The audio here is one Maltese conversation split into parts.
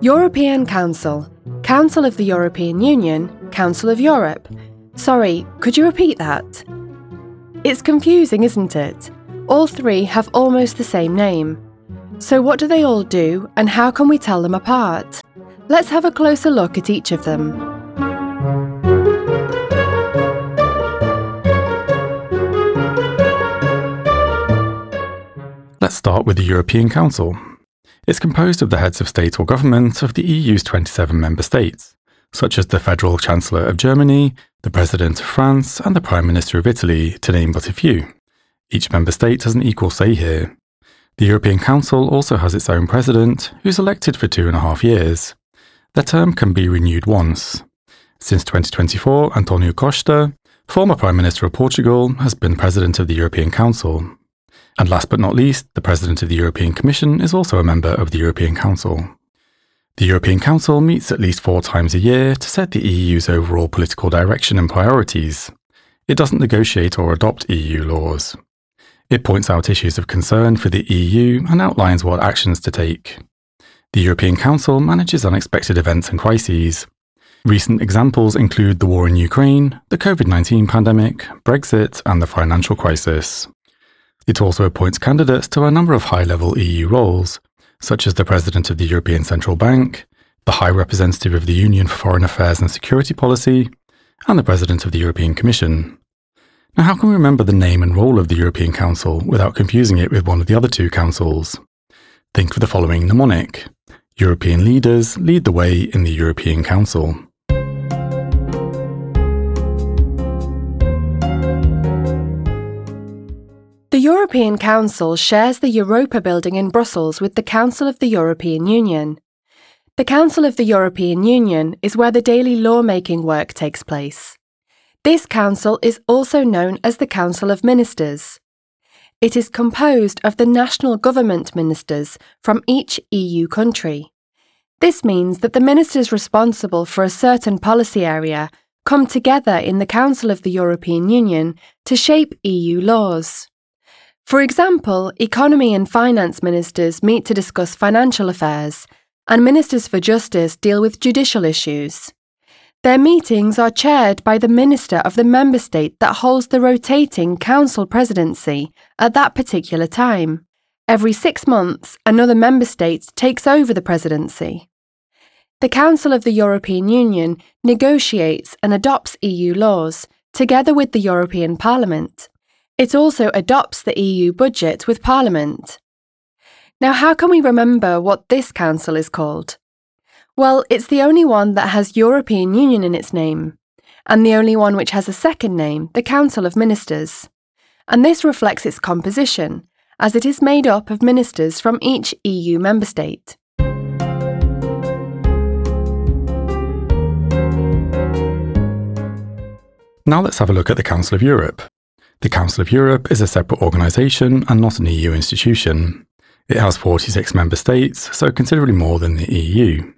European Council, Council of the European Union, Council of Europe. Sorry, could you repeat that? It's confusing, isn't it? All three have almost the same name. So, what do they all do, and how can we tell them apart? Let's have a closer look at each of them. Let's start with the European Council. It's composed of the heads of state or government of the EU's 27 member states, such as the Federal Chancellor of Germany, the President of France, and the Prime Minister of Italy, to name but a few. Each member state has an equal say here. The European Council also has its own president, who's elected for two and a half years. Their term can be renewed once. Since 2024, Antonio Costa, former Prime Minister of Portugal, has been President of the European Council. And last but not least, the President of the European Commission is also a member of the European Council. The European Council meets at least four times a year to set the EU's overall political direction and priorities. It doesn't negotiate or adopt EU laws. It points out issues of concern for the EU and outlines what actions to take. The European Council manages unexpected events and crises. Recent examples include the war in Ukraine, the COVID 19 pandemic, Brexit, and the financial crisis. It also appoints candidates to a number of high level EU roles, such as the President of the European Central Bank, the High Representative of the Union for Foreign Affairs and Security Policy, and the President of the European Commission. Now, how can we remember the name and role of the European Council without confusing it with one of the other two councils? Think of the following mnemonic European leaders lead the way in the European Council. The European Council shares the Europa building in Brussels with the Council of the European Union. The Council of the European Union is where the daily lawmaking work takes place. This council is also known as the Council of Ministers. It is composed of the national government ministers from each EU country. This means that the ministers responsible for a certain policy area come together in the Council of the European Union to shape EU laws. For example, economy and finance ministers meet to discuss financial affairs, and ministers for justice deal with judicial issues. Their meetings are chaired by the minister of the member state that holds the rotating council presidency at that particular time. Every six months, another member state takes over the presidency. The Council of the European Union negotiates and adopts EU laws, together with the European Parliament. It also adopts the EU budget with Parliament. Now, how can we remember what this council is called? Well, it's the only one that has European Union in its name, and the only one which has a second name, the Council of Ministers. And this reflects its composition, as it is made up of ministers from each EU member state. Now let's have a look at the Council of Europe. The Council of Europe is a separate organisation and not an EU institution. It has 46 member states, so considerably more than the EU.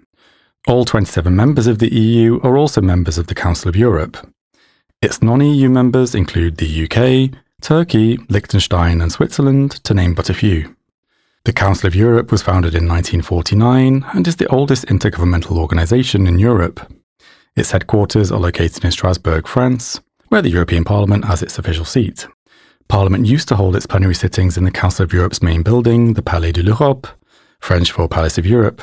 All 27 members of the EU are also members of the Council of Europe. Its non EU members include the UK, Turkey, Liechtenstein, and Switzerland, to name but a few. The Council of Europe was founded in 1949 and is the oldest intergovernmental organisation in Europe. Its headquarters are located in Strasbourg, France, where the European Parliament has its official seat. Parliament used to hold its plenary sittings in the Council of Europe's main building, the Palais de l'Europe, French for Palace of Europe.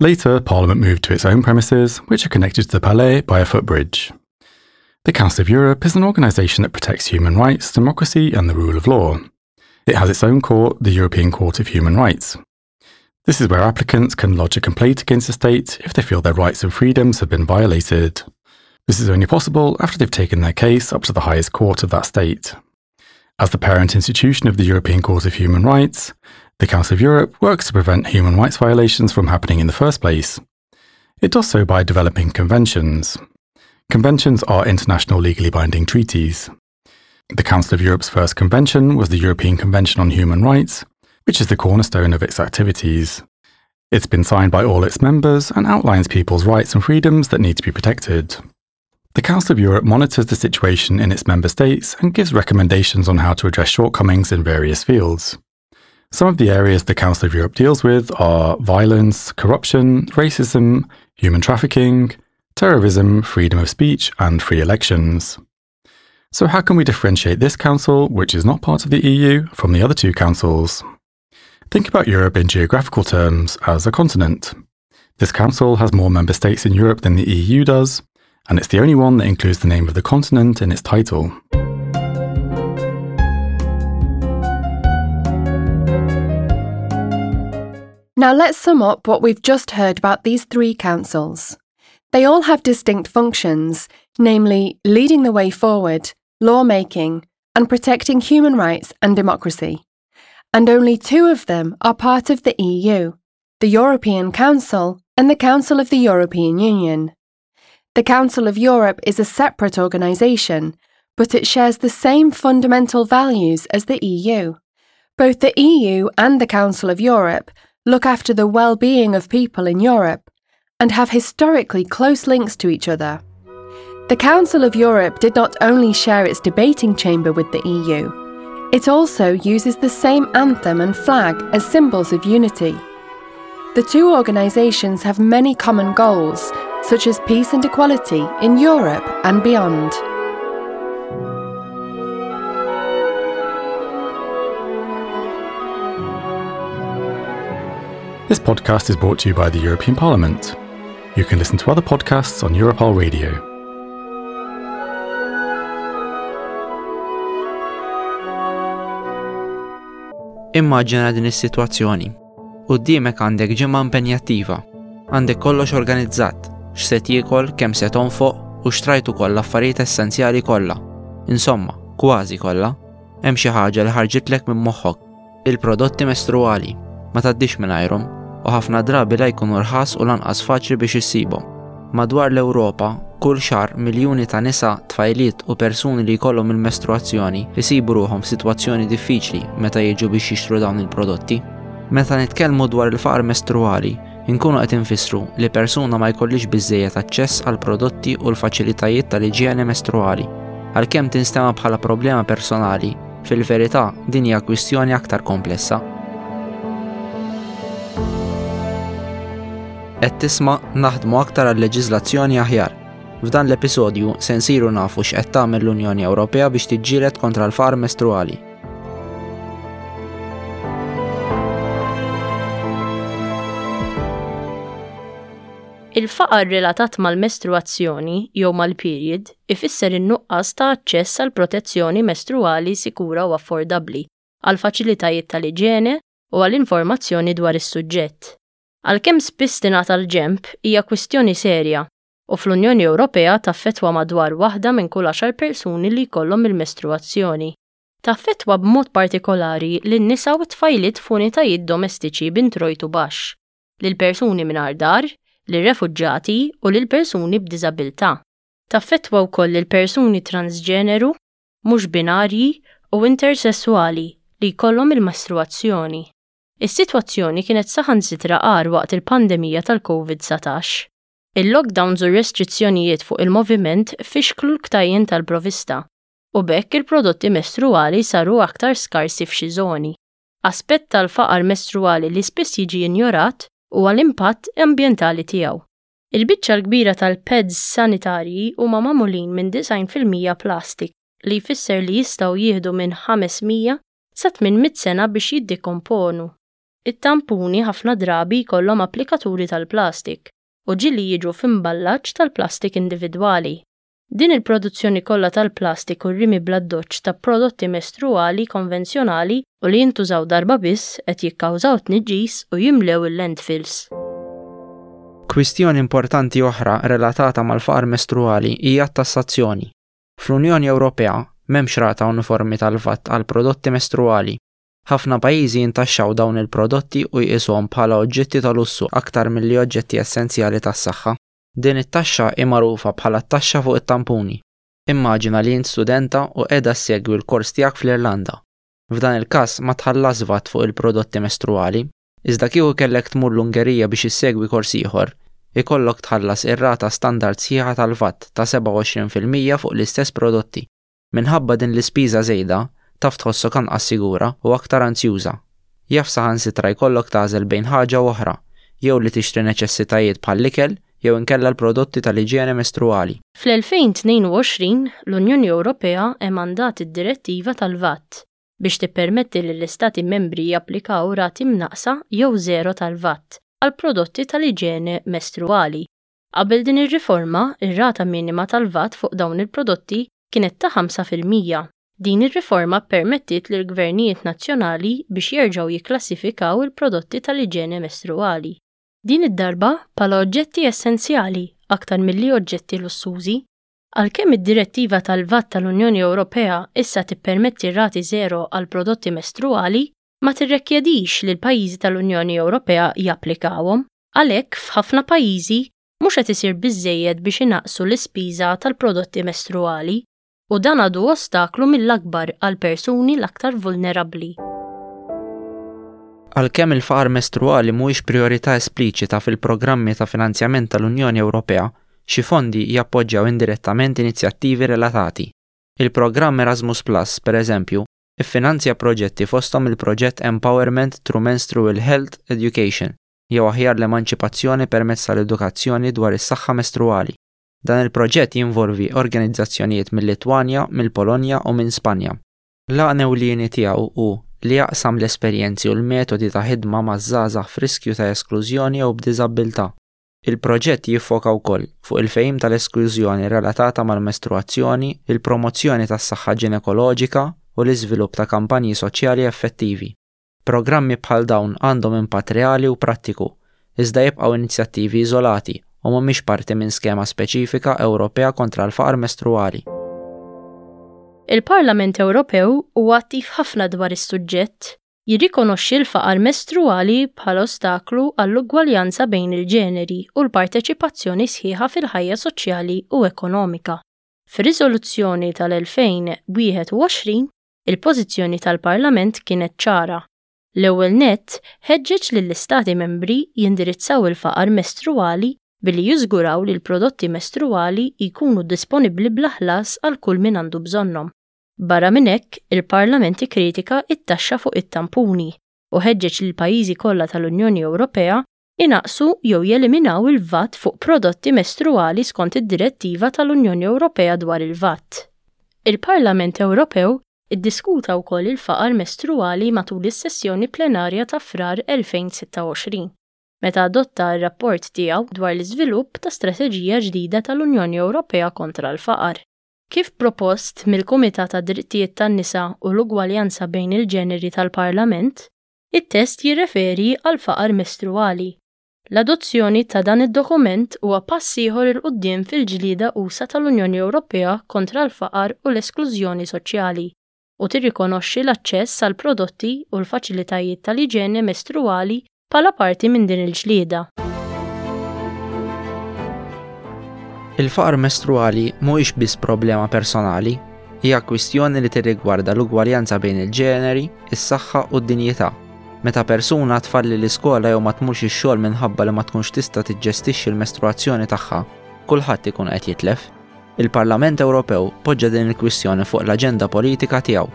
Later, Parliament moved to its own premises, which are connected to the Palais by a footbridge. The Council of Europe is an organisation that protects human rights, democracy, and the rule of law. It has its own court, the European Court of Human Rights. This is where applicants can lodge a complaint against a state if they feel their rights and freedoms have been violated. This is only possible after they've taken their case up to the highest court of that state. As the parent institution of the European Court of Human Rights, the Council of Europe works to prevent human rights violations from happening in the first place. It does so by developing conventions. Conventions are international legally binding treaties. The Council of Europe's first convention was the European Convention on Human Rights, which is the cornerstone of its activities. It's been signed by all its members and outlines people's rights and freedoms that need to be protected. The Council of Europe monitors the situation in its member states and gives recommendations on how to address shortcomings in various fields. Some of the areas the Council of Europe deals with are violence, corruption, racism, human trafficking, terrorism, freedom of speech, and free elections. So, how can we differentiate this council, which is not part of the EU, from the other two councils? Think about Europe in geographical terms as a continent. This council has more member states in Europe than the EU does, and it's the only one that includes the name of the continent in its title. Now let's sum up what we've just heard about these three councils. They all have distinct functions, namely leading the way forward, lawmaking, and protecting human rights and democracy. And only two of them are part of the EU the European Council and the Council of the European Union. The Council of Europe is a separate organisation, but it shares the same fundamental values as the EU. Both the EU and the Council of Europe look after the well being of people in Europe and have historically close links to each other. The Council of Europe did not only share its debating chamber with the EU, it also uses the same anthem and flag as symbols of unity. The two organisations have many common goals, such as peace and equality in Europe and beyond. This podcast is brought to you by the European Parliament. You can listen to other podcasts on Europol Radio. Immaġina din is-sitwazzjoni. Quddiemek għandek ġimgħa impenjattiva. Għandek kollox organizzat, x'se tiekol, kemm se tonfoq u xtrajt ukoll l-affarijiet essenzjali kollha. Insomma, kważi kollha. Hemm xi ħaġa li ħarġitlek minn moħħok. Il-prodotti mestruwali. Ma tgħaddix mingħajrhom u ħafna drabi la jkunu rħas u lanqas faċli biex issibhom. Madwar l-Ewropa, kull xahar miljuni ta' nisa, tfajliet u persuni li jkollhom il-mestruazzjoni jsibu ruħhom f'sitwazzjoni diffiċli meta jiġu biex jixtru dawn il-prodotti. Meta nitkellmu dwar il-faqar mestruwali, inkunu qed infissru li persuna ma jkollhiex biżżejjed aċċess għall-prodotti u l-faċilitajiet tal-iġjene mestruwali. Għalkemm tinstema' bħala problema personali, fil-verità din hija kwistjoni aktar komplessa. Qed tisma' Naħdmu aktar għal leġiżlazzjoni aħjar. F'dan l-episodju se nsiru nafu x'qed tagħmel l-Unjoni Ewropea biex tiġġieled kontra l-faqar mestruali. Il-faqar relatat mal-mestruazzjoni jew mal-period ifisser in-nuqqas ta' aċċess għal protezzjoni mestruali sikura u affordabbli, għal faċilitajiet tal-iġene u għal informazzjoni dwar is-suġġett. Għalkemm spiss tingħata l-ġenb, hija kwistjoni serja u fl-Unjoni Ewropea taffettwa madwar waħda minn kull għaxar persuni li jkollhom il-mestruazzjoni. Taffettwa b'mod partikolari lin-nisa u t-tfajliet f'unitajiet domestiċi b'introjtu baxx, lil persuni mingħajr dar, lir-refuġjati u lil persuni b'diżabilità. Taffettwa wkoll lil persuni transġeneru, mhux binarji u intersesswali li jkollhom il-mestruazzjoni. Is-sitwazzjoni kienet saħansitra agħar waqt il-pandemija tal-Covid 19. Il-lockdowns u r-restrizzjonijiet fuq il-moviment fixklu l-ktajjen tal-provista, u b'hekk il-prodotti mestruwali saru aktar skarsi f'xi żoni. Aspett tal-faqar mestruwali li spiss jiġi injorat huwa l-impatt ambjentali tiegħu. Il-biċċa l-kbira tal-pads sanitarji huma magħmulin minn 90% plastik, li jfisser li jistgħu jieħdu minn 500 sa 800 sena biex jiddekomponu. It-tampuni ħafna drabi jkollhom applikaturi tal-plastik u ġieli jiġu f'imballaġġ tal-plastik individwali. Din il-produzzjoni kollha tal-plastik u r-rimi bl-addoċċ ta' prodotti mestruwali konvenzjonali u li jintużaw darba biss qed jikkawżaw tniġġis u jimlew il-landfills. Kwistjoni importanti oħra relatata mal-faqar mestruwali hija t-tassazzjoni. Fl-Unjoni Ewropea m'hemmx rata uniformi tal-VAT għall-prodotti mestruwali. Ħafna pajjiżi jintaxxaw dawn il-prodotti u jqisuhom bħala oġġetti ta' lussu aktar milli oġġetti essenzjali tas-saħħa. Din it-taxxa hi magħrufa bħala t-taxxa fuq it-tampuni. Immaġina li int studenta u qiegħda ssegwi l-kors tiegħek fl-Irlanda. F'dan il-każ ma tħallasx vat fuq il-prodotti mestruwali. Iżda kieku kellek tmur l-Ungerija biex issegwi kors ieħor, ikollok tħallas ir-rata standard sħiħa tal-VAT ta' 27% fuq l-istess prodotti. Minħabba din l-ispiża żejda, taf tħossok anqas sigura u aktar anzjuża. Jaf saħansitra jkollok tagħżel bejn ħaġa u oħra, jew li tixtri neċessitajiet bħall-ikel jew inkella l-prodotti tal-iġjene mestruwali. Fl-2022, l-Unjoni Ewropea emandat id-Direttiva tal-VAT biex tippermetti lill-Istati Membri japplikaw rati mnaqqsa jew żero tal-VAT għal prodotti tal-iġene mestruwali. Qabel din ir-riforma, ir-rata minima tal-VAT fuq dawn il-prodotti kienet ta' 5%. Din ir-riforma ppermettiet lill-gvernijiet nazzjonali biex jerġgħu jikklassifikaw il-prodotti tal-iġene mestruwali. Din id-darba bħala oġġetti essenzjali aktar milli oġġetti lussużi. Għalkemm id-Direttiva tal-VAT tal-Unjoni Ewropea issa tippermetti rati żero għall-prodotti mestruwali, ma tirrekjedix li l-pajjiżi tal-Unjoni Ewropea japplikawhom. Għalhekk, f'ħafna pajjiżi mhux qed isir biżżejjed biex inaqqsu l-ispiża tal-prodotti mestruwali, u dan għadu ostaklu mill-akbar għall-persuni l-aktar vulnerabbli. Għalkemm il-faqar mestruwali mhuwiex prijorità espliċita fil-programmi ta' finanzjament tal-Unjoni Ewropea, xi fondi jappoġġjaw indirettament inizjattivi relatati. Il-programm Erasmus Plus, pereżempju, iffinanzja proġetti fosthom il-proġett Empowerment Through Menstrual Health Education, jew aħjar l-emanċipazzjoni permezz tal-edukazzjoni dwar is-saħħa mestruwali. Dan il-proġett jinvolvi organizzazzjonijiet mil-Litwanja, mill-Polonja u minn Spanja. L-għan ewlieni tiegħu hu li jaqsam l-esperjenzi u l-metodi ta' ħidma ma' żgħażagħ f'riskju ta' esklużjoni jew b'diżabbiltà. Il-proġett jiffoka wkoll fuq il-fehim tal-esklużjoni relatata mal-mestruwazzjoni, il-promozzjoni tas-saħħa ġinekoloġika u l-iżvilupp ta' kampanji soċjali effettivi. Programmi bħal dawn għandhom impatt reali u prattiku, iżda jibqgħu inizjattivi iżolati u mhumiex parti minn skema speċifika Ewropea kontra l-faqar mestruwali. Il-Parlament Ewropew huwa attiv ħafna dwar is-suġġett, jirrikonoxxi l-faqar mestruwali bħala ostaklu għall-ugwaljanza bejn il-ġeneri u l-parteċipazzjoni sħiħa fil-ħajja soċjali u ekonomika. Fir-riżoluzzjoni tal-2021, Il-pożizzjoni tal-Parlament kienet ċara. L-ewwel nett, ħeġġeġ lill-Istati Membri jindirizzaw il-faqar mestruwali billi jiżguraw li l-prodotti mestruwali jkunu disponibbli bla ħlas għal kull min għandu bżonnhom. Barra minn hekk, il-Parlament ikkritika t-taxxa fuq it-tampuni u ħeġġeġ lill-pajjiżi kollha tal-Unjoni Ewropea inaqqsu jew jeliminaw il-VAT fuq prodotti mestruwali skont id-Direttiva tal-Unjoni Ewropea dwar il-VAT. Il-Parlament Ewropew iddiskuta wkoll il-faqar mestruwali matul is-sessjoni plenarja ta' Frar 2026, meta adotta r-rapport tiegħu dwar l-iżvilupp ta' strateġija ġdida tal-Unjoni Ewropea kontra l-faqar. Kif propost mill-Kumitat għad-Drittijiet tan-Nisa u l-Ugwaljanza bejn il-Ġeneri tal-Parlament, It-test jirreferi għall-faqar mestruwali. L-adozzjoni ta' dan id-dokument huwa pass ieħor 'il quddiem fil-ġlieda usa' tal-Unjoni Ewropea kontra l-faqar u l-esklużjoni soċjali, u tirrikonoxxi l-aċċess għall-prodotti u l-faċilitajiet tal-iġene mestruwali bħala parti minn din il-ġlieda. Il-faqar mestruwali mhuwiex biss problema personali, hija kwistjoni li tirrigwarda l-ugwaljanza bejn il-ġeneri, is-saħħa u d-dinjità. Meta persuna tfalli l-iskola jew ma tmurx ix-xogħol minħabba li ma tkunx tista' tiġġestixxi l-mestruazzjoni tagħha, kulħadd ikun qed jitlef. Il-Parlament Ewropew poġġa din il-kwistjoni fuq l-aġenda politika tiegħu.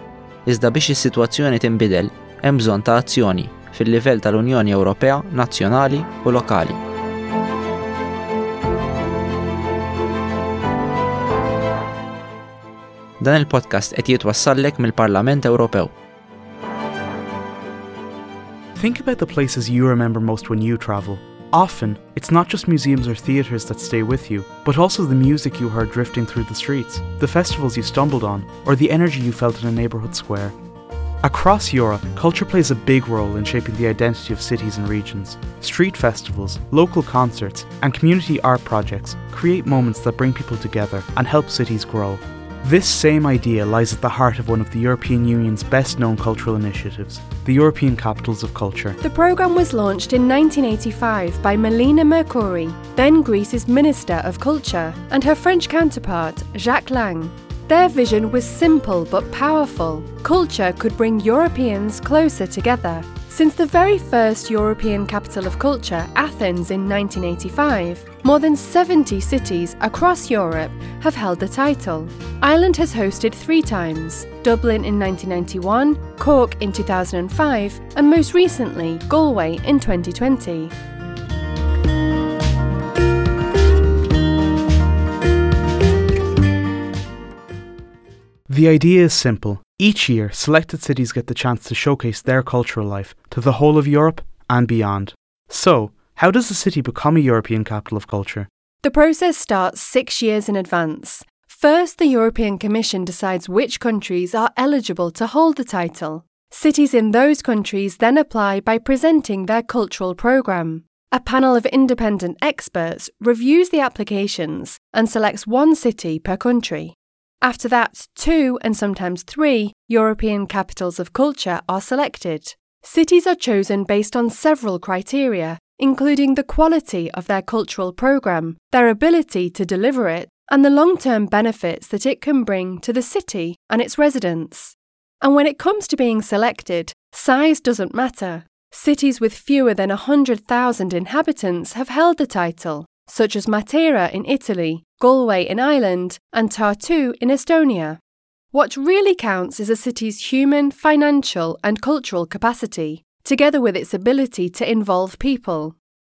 Iżda biex is-sitwazzjoni tinbidel, hemm bżonn ta' azzjoni fil-livell tal-Unjoni Ewropea, nazzjonali u lokali. Dan il-podcast qed jitwassallek mill-Parlament Ewropew. Think about the places you remember most when you travel. Often, it's not just museums or theatres that stay with you, but also the music you heard drifting through the streets, the festivals you stumbled on, or the energy you felt in a neighbourhood square. Across Europe, culture plays a big role in shaping the identity of cities and regions. Street festivals, local concerts, and community art projects create moments that bring people together and help cities grow. This same idea lies at the heart of one of the European Union's best known cultural initiatives, the European Capitals of Culture. The programme was launched in 1985 by Melina Mercouri, then Greece's Minister of Culture, and her French counterpart, Jacques Lang. Their vision was simple but powerful. Culture could bring Europeans closer together. Since the very first European Capital of Culture, Athens, in 1985, more than 70 cities across Europe have held the title. Ireland has hosted three times Dublin in 1991, Cork in 2005, and most recently, Galway in 2020. The idea is simple. Each year, selected cities get the chance to showcase their cultural life to the whole of Europe and beyond. So, how does a city become a European Capital of Culture? The process starts six years in advance. First, the European Commission decides which countries are eligible to hold the title. Cities in those countries then apply by presenting their cultural programme. A panel of independent experts reviews the applications and selects one city per country. After that, two and sometimes three European capitals of culture are selected. Cities are chosen based on several criteria, including the quality of their cultural programme, their ability to deliver it, and the long term benefits that it can bring to the city and its residents. And when it comes to being selected, size doesn't matter. Cities with fewer than 100,000 inhabitants have held the title, such as Matera in Italy, Galway in Ireland, and Tartu in Estonia. What really counts is a city's human, financial, and cultural capacity, together with its ability to involve people.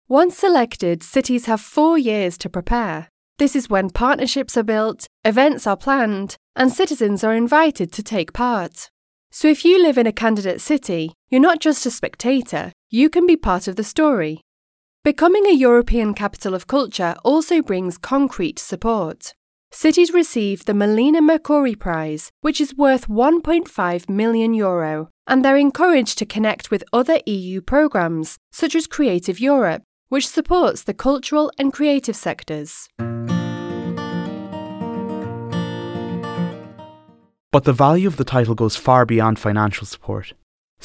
Once selected, cities have four years to prepare. This is when partnerships are built, events are planned, and citizens are invited to take part. So if you live in a candidate city, you're not just a spectator, you can be part of the story. Becoming a European Capital of Culture also brings concrete support. Cities receive the Melina Mercouri Prize, which is worth 1.5 million euro, and they're encouraged to connect with other EU programmes, such as Creative Europe, which supports the cultural and creative sectors. But the value of the title goes far beyond financial support.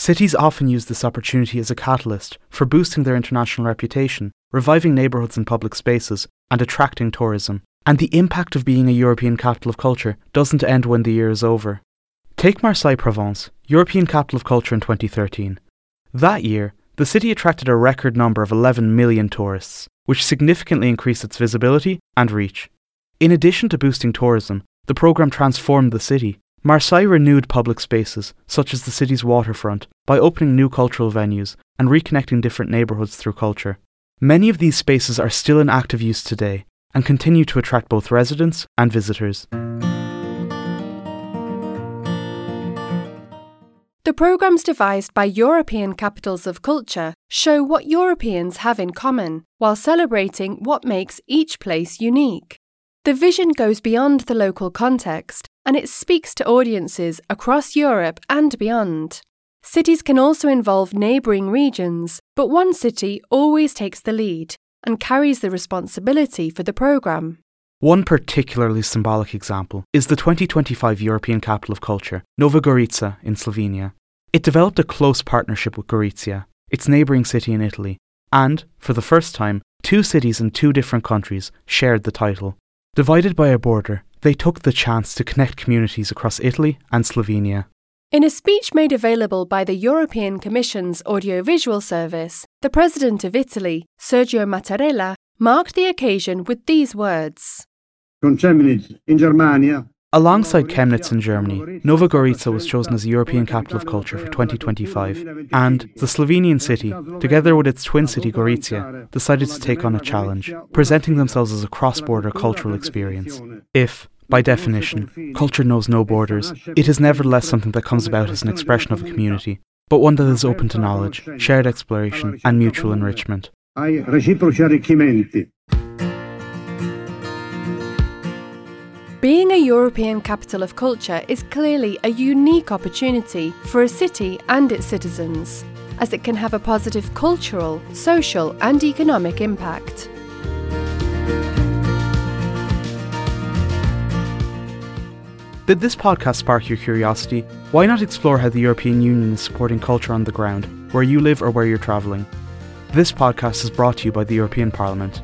Cities often use this opportunity as a catalyst for boosting their international reputation, reviving neighbourhoods and public spaces, and attracting tourism. And the impact of being a European Capital of Culture doesn't end when the year is over. Take Marseille Provence, European Capital of Culture in 2013. That year, the city attracted a record number of 11 million tourists, which significantly increased its visibility and reach. In addition to boosting tourism, the programme transformed the city. Marseille renewed public spaces, such as the city's waterfront, by opening new cultural venues and reconnecting different neighbourhoods through culture. Many of these spaces are still in active use today and continue to attract both residents and visitors. The programmes devised by European capitals of culture show what Europeans have in common while celebrating what makes each place unique. The vision goes beyond the local context and it speaks to audiences across Europe and beyond. Cities can also involve neighbouring regions, but one city always takes the lead and carries the responsibility for the programme. One particularly symbolic example is the 2025 European Capital of Culture, Nova Gorica in Slovenia. It developed a close partnership with Gorizia, its neighbouring city in Italy, and, for the first time, two cities in two different countries shared the title. Divided by a border, they took the chance to connect communities across Italy and Slovenia. In a speech made available by the European Commission's Audiovisual Service, the President of Italy, Sergio Mattarella, marked the occasion with these words. Con Chemnitz in Germania. Alongside Chemnitz in Germany, Nova Gorica was chosen as the European Capital of Culture for 2025, and the Slovenian city, together with its twin city Gorizia, decided to take on a challenge, presenting themselves as a cross border cultural experience. If, by definition, culture knows no borders, it is nevertheless something that comes about as an expression of a community, but one that is open to knowledge, shared exploration, and mutual enrichment. Ai reciproci arricchimenti. Being a European capital of culture is clearly a unique opportunity for a city and its citizens, as it can have a positive cultural, social, and economic impact. Did this podcast spark your curiosity? Why not explore how the European Union is supporting culture on the ground, where you live or where you're travelling? This podcast is brought to you by the European Parliament.